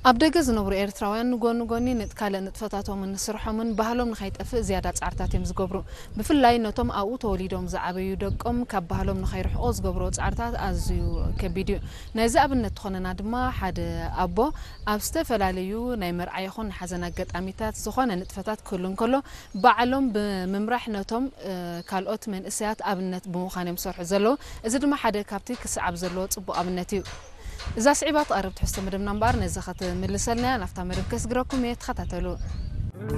ኣብ ደገ ዝነብሩ ኤርትራውያን ንጎኒ ጎኒ ንጥ-፣ ካልእ ንጥፈታቶምን ስርሖምን ባህሎም ንኸይጠፍእ ዝያዳ ጻዕርታት እዮም ዝገብሩ። ብፍላይ ነቶም ኣብኡ ተወሊዶም ዝዓበዩ ደቆም ካብ ባህሎም ንኸይርሕቑ ዝገብርዎ ጻዕርታት ኣዝዩ ከቢድ እዩ። ናይዚ ኣብነት ትኾነና ድማ ሓደ ኣቦ ኣብ ዝተፈላለዩ ናይ መርዓ ይኹን ሓዘን ኣጋጣሚታት ዝኾነ ንጥፈታት ክህሉ እንከሎ ባዕሎም ብምምራሕ ነቶም፣ እ፣ ካልኦት መንእሰያት ኣብነት ብምዃን እዮም ዝሰርሑ ዘለዉ። እዚ ድማ ሓደ ካብቲ ክስዓብ ዘለዎ ጽቡቕ ኣብነት እዩ። እዛ ስዒባ ትቐርብ ትሕዝቶ መደብና እምበኣር ነዚ ክትምልሰልና እያ። ናብታ መደብ ከስግረኩም እየ፣ ተኸታተሉ።